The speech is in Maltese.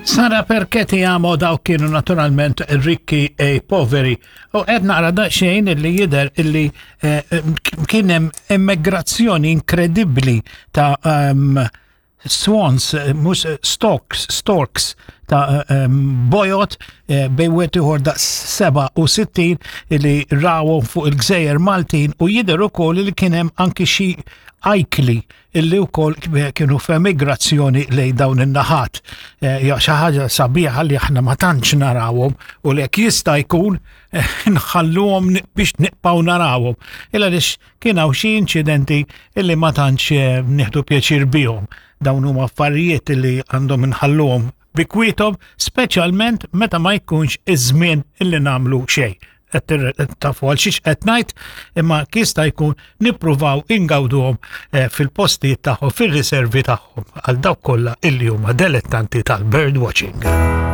Sara perché ti amo dawk kienu naturalment rikki e poveri. U qed naqra daqsxejn illi jidher illi eh, kien hemm immigrazzjoni inkredibbli ta' um, swans, eh, mhux eh, storks, storks ta' um, bojot eh, bej wieħed ieħor daqs 67 illi rawhom fuq il-gżejjer Maltin u jidher ukoll li kien hemm anki xi ajkli illi wkoll kienu f'emigrazzjoni lejn dawn in-naħat. Eh, ja xi ħaġa sabiħa li aħna ma tantx narawhom u lek jista' jkun eh, nħalluhom biex nibqgħu narawhom. Illa lix kien hawn xi inċidenti illi ma tantx eh, nieħdu pjaċir bihom. Dawn huma affarijiet illi għandhom inħalluhom bi kwiethom, speċjalment meta ma jkunx iż-żmien illi nagħmlu xejn tafu għal xiex qed ngħid, imma jista' jkun nippruvaw ingawduhom eh, fil-postijiet tagħhom, fir-riservi tagħhom għal dawk kollha illi huma delettanti tal-bird watching.